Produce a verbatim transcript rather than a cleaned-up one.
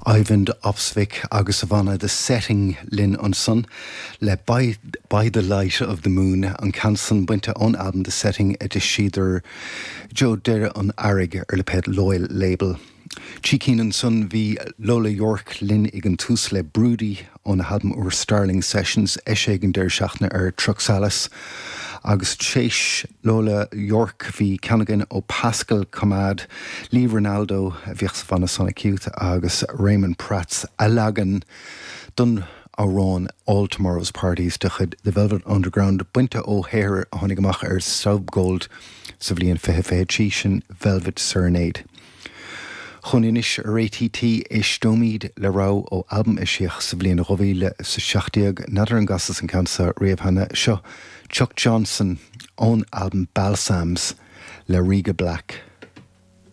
Eivind Opsvik agus a bhanna The Setting linn ansan le by, by the Light of the Moon an ceann san bainte ón album The Setting a d'eisíodar ag deireadh an earraigh ar lipéad Loyal Label. Trí cinn ansan bhí Lola York linn ag an tús le Broody óna halbam úr Starling Sessions eisithe ag an deireadh seachtaine ar Truxalis. Agus théis Lola York bhí ceann againn ó Pascal Commad, Lee Ranaldo a bhíodh sa bhanna Sonic Youth agus Raymond Pratt's a leagan den amhrán All Tomorrow's Parties de chuid The Velvet Underground bainte ó shaothar a tháinig amach ar Staubgold sa bhliain fiche fiche trí sin Velvet Serenade. Chun anois ar ATT éisteoimid le rogha ó albam eisíodh sa bhliain dhá mhíle is a seacht déag n'fheadar an gcasas an ceann seo riamh cheana seo Chuck Johnson ón albam Balsams le Riga Black.